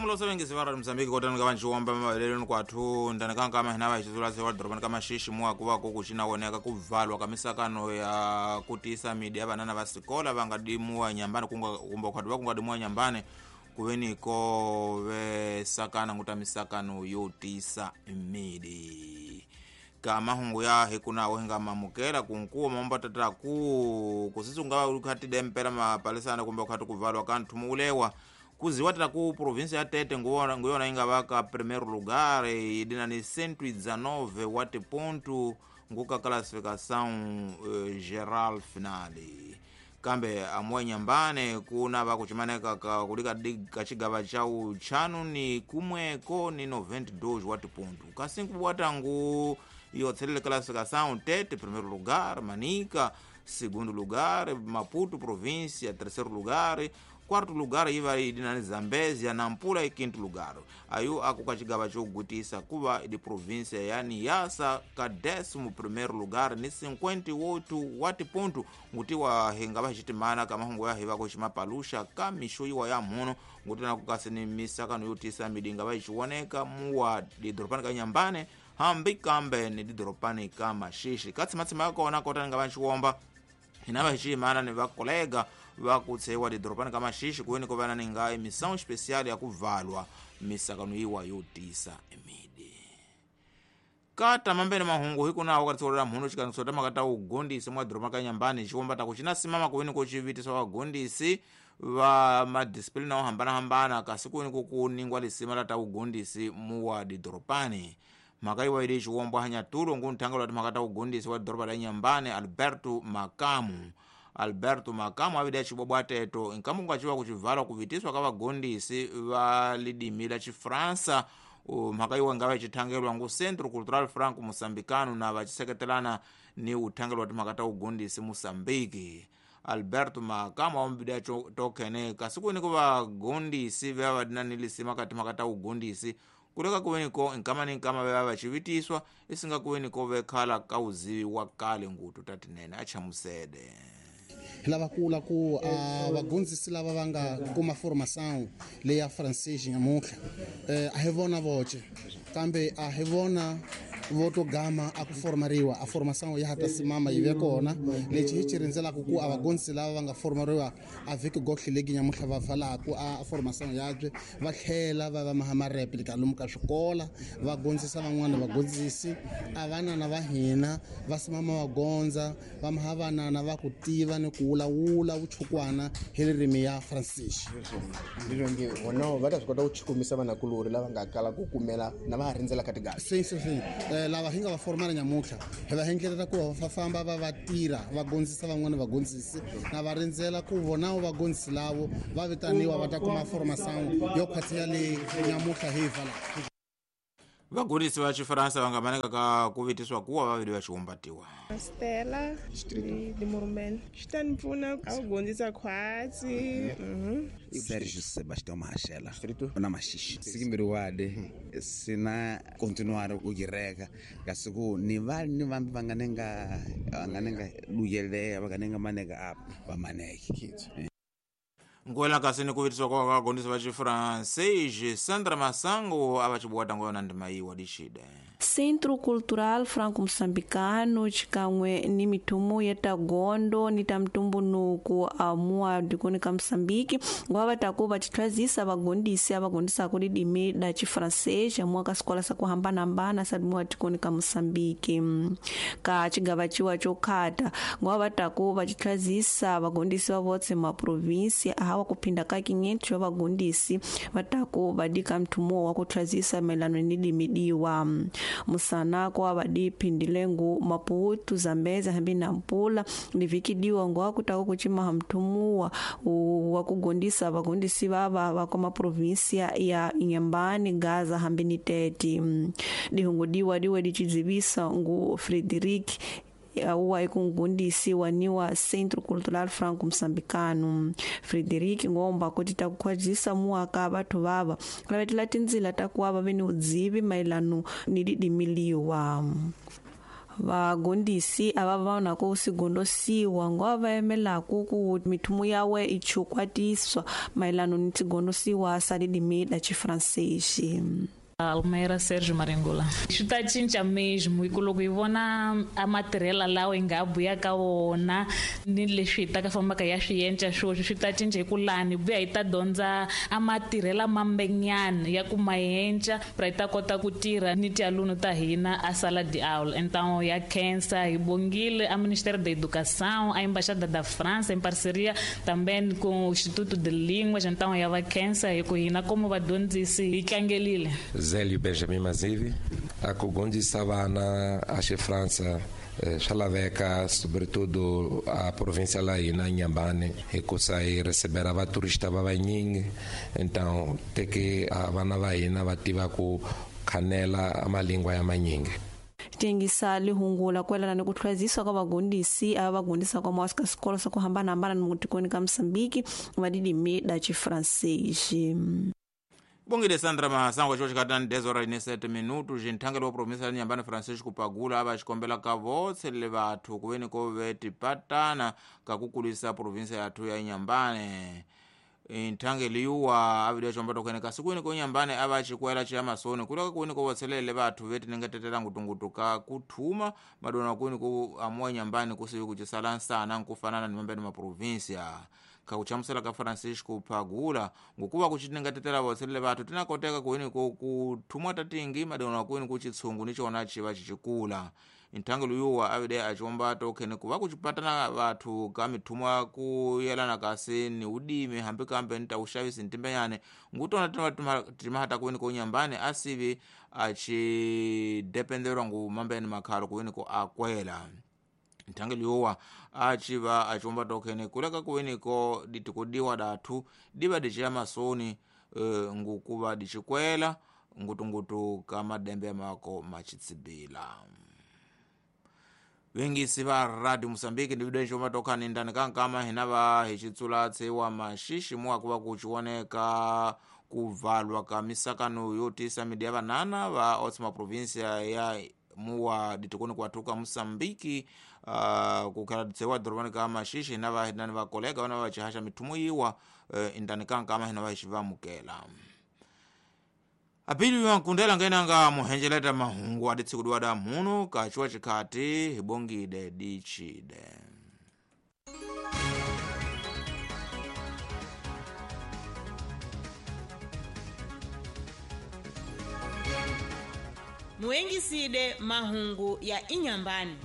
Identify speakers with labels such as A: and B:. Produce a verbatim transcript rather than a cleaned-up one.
A: Amulosa vengisi va ra Mozambique kotani ka vanxiwomba mavelelweni kwathu ndani ka nkama hina va hi xizula se wa dorobani ka Maxixi muwa ku va ku ku xina woneka ku valwa ka misakano ya ku tiyisa midi ya vanana va sikola va nga dimuwa nyambani kunga kumbe khwati va ku nga dimuwa nyambani ku veni ko ve sakana nguta misakano yo tiyisa midi. Ka mahungu ya hikunawo hinga mamukela kunkuwa mambo tata ku kusisunga ukhati dempela mapalisana kumbe ukhati kuvalwa ka nthumulewa kuziwa tata ku province ya Tete nguwona nguyona inga vaka primeiro lugar idina ni cento e dezenove watt ponto nguka classificação uh, geral finale. Kambe amwe nyambane kuna vakuchimaneka ka kulika kachigava cha uchanu ni kumweko ni noventa e dois watt ponto kasinku watangu yotselele classificação Tete primeiro lugar, Manica segundo lugar, Maputo província terceiro lugar, quarto lugar iva idinani Zambezia, Nampula e quinto lugar. Ayo akukachigava chogutisa kuva idi província ya Niassa ka décimo primeiro lugar ni cinquenta e oito watt ponto ngutiwa hingava xitimana ka mahungu ya hiva kuxima palusha ka mixo ya muno ngutina kukasi ni misakano yotisa midi ngava xiwoneka muwa didorobani ka Nyambane hambi kambe ni didorobani ka Maxixi katsimatsima ya kona kotani ngava xiwomba hina va ximana ni vakolega va ku tshewa didorobani ka Maxixi kuweni ko vana ni nga emissão especial ya ku valwa misakano yiwa yo tisa midi. Kata mambene mahungu hikunawo ka tsolela mhuno xikandziso ta mhaka ta ugondisi mwa doroba ka Nyambani xiwomba ta ku xina simama kuweni ko xivitisa vagondisi va madisiplina wo hambanahambana kasi kuweni ku ku ningwa lisima la ta ugondisi muwa didorobani. Mhaka yiwa ili xiwombo hanyatulo ngu nthangelo wa timhaka ta ugondisi wa doroba la Nyambani Alberto Makamu. Alberto Makamu avide xibobwa teto nkamu kungaciwa kucivalwa kuvitiswa ka vagondisi va lidimi la Xifransa. Mhaka yiwa ngava xithangelwa ngu Centro Cultural Franco Moçambicano na vaxiseketelana ni uthangelo wa timhaka ta ugondisi Moçambique. Alberto Makamu awambide tokhene kasi kuweni ku vagondisi va va na ni lisima ka timhaka ta ugondisi kuleka kuweni ko nkama ni nkama va va xivitiswa isinga kuweni ko vekhala ka uzivi wa kale ngutu tatinene a chamusede.
B: Lava kula ku vagondzisi lava va nga kuma formação leya francês nyamutlha a hi vona voce kambe a hi vona voto gama a ku formariwa a formação ya hata simama yi ve kona lexi hi xi rindzelaka ku a vagondzisi lava va nga formariwa a vhiki gohle legi nyamutlha va valaku a formação yabye va tlhela va va maha mareplika lomu ka swikola va gondzisa van'wana vagondzisi a vanana va hina va simama va gondza va maha vanana va ku tiva ni ku wulawula vuchukwana hi ririmi ya francês.
C: Ndizvo nge vona va ta swi kota ku chukumisa vanakulori lava nga kala ku kumela na va ha rindzela ka tigasi.
B: Sim, sim, sim. Lava hi nga va formala nyamutlha hi va endlela ku va famba va va tirha va gondzisa van'wana vagondzisi na va rindzela ku vona vagondzisi lavo va vitaniwa va ta kuma formação yo khwatsiya le nyamutlha hi vala.
A: Vagondisi va Xifaransa va nga maneka ka ku vitiswa kuwa vaviri va xiwombatiwa.
D: Stella de Morumel xi ta ni pfuna a ku gondzisa khwatsi.
E: Sergio Sebastião Mahashela na Maxixi sikimbiri wade sina continuar ku gireka kasi ku ni va ni vambi va nga nenga va nga nenga luyeleya va nga nenga maneka apa va maneke.
A: Nkuela kasi ni kuvitiswa kwa vagondisi va Xifrancês Sandra Masango a va xibuwata ngoyona ndima yiwa dixide.
F: Centro Cultural Franco Moçambicano xikan'we ni mithumu ya ta gondo ni ta mtumbunuku amua dikoni ka Moçambique ngwa va ta ku va xitlhazisa vagondisi a va gondisaka ridimi da Xifrancês amua ka swikola swa ku hambanahambana sa mua dikoni ka Moçambique. Ka xigava xiwa xo khata ngwa va ta ku va xitlhazisa vagondisi va votse ma province hawa kuphinda ka quinhentos va vagondisi va ta ku va dika mthumu wa ku tlhazisa mayelana ni dimidiwa. Musanako wa vadiphindile ngu Maputo, Zambezi hambi Nampula ni vikidiwa ngwa kutaka kuchimaha mthumuwa wa kugondisa vagondisi vava va kwa maprovinsia ya Inhambane, Gaza hambi ni Tete. Dihungudiwa diwe dichizivisa ngu Frederic auwa ikungundisi waniwa Centro Cultural Franco Moçambicano. Frederic ngomba kuti takukhwajisa muaka bathu vava lavetela tindzila takuwa vave ni udzivi mayelano ni didimiliwa. Vagondisi ava va na ku sigondosiwa ngo va emelaku ku mithumu yawe ichukwatiswa mayelana ni tigondosiwa sa lilimi la Chifrancês.
G: Almeida Sérgio Maringula. Swi ta cinca mesmo hi ku loko hi vona a matirhela lawa hi nga buya ka wona ni leswi hi ta ka fambaka ya swi yenca swoswi swi ta cinca hi ku lani buya hi ta dyondza a matirhela mambenyana ya ku mayenca pra hi ta kota ku tirha ni tialunu ta hina a sala de aula. Então ya khensa hi bongile a Ministério da Educação, a Embaixada da França em parceria também com o Instituto de Línguas, então ya va khensa hi ku hina como vadyondzisi hi tlangelile.
H: Zélio Benjamin Mazivi, a kugondisa vana a França swa laveka sobretudo a província lá na Inhambane hikusa hi recebera vaturista va vanyingi, então te que a vana va hina va tiva ku khanela malingwa ya manyingi.
F: Tengisa lihungula kwelana ni ku tlhwaziswa ka vagondisi ava vagondisa kwa mwasika swikolo swa ku hambanahambana ni mutikoni ka Mozambique va lilimi la Chifrancês.
A: Bongile Sandra Mahasango cho chikatani dez horas e sete minutos jinthangelo wa província ya Inhambane Francisco Pagula ava xikombela ka votse le vathu kuveni ko ve tipatana ka kukulisa província yathu ya Inhambane. Inthangelo yuwa avidiwa chombato kwene kasi kwini ko Inhambane ava chikwela cha masoni kuleka kwini ko votselele vathu veti ningetetela ngutungutu ka kuthuma madona kwini ko amuwa Inhambane kusivi kuchisala nsana nkufanana ni mambeni ma província. Kakuchamusela ka Francisco Pagula ngokuva kuchitingatetela votselele vathu tinakoteka kuini ko kuthumwa tatingi madona kuini kuchitsungu nichona chiva chichikula. Inthangelo yuwa avide achiombato khene kuva kuchipatana vathu ka mithumwa kuyelana kasi ni udimi hambi kambe nta uxavisi ntimbenyane ngutona timahata kuini ko Inhambane asivi achidependerwa ngu mambeni makhalo kuini ko akwela. Nthangelo yowa achiva achiomba tokhene kuleka kuweniko ditikudiwa dathu diva dichiya masoni e, ngukuva dichikwela ngutungutu ka madembe mako machitsibila. Wengisi va Radio Mozambique ndi video chomba tokhani ndani kankama hinava hichitsula tsewa mashishi muwa kuva kuchioneka kuvalwa ka misakano yotisa midi ya vanana va otsima província ya muwa ditikoni kwathuka Mozambique uh, kukhala tsewa dorobani ka mashishi na va hinani va kolega vana va chihasha mithumu yiwa uh, indani kankama hina va xivamukela. Apili wankundela ngenanga muhenjeleta mahungu aditsikudwa da muno kachiwa chikhati hibongide dichide.
I: Muengiside mahungu ya Inhambane.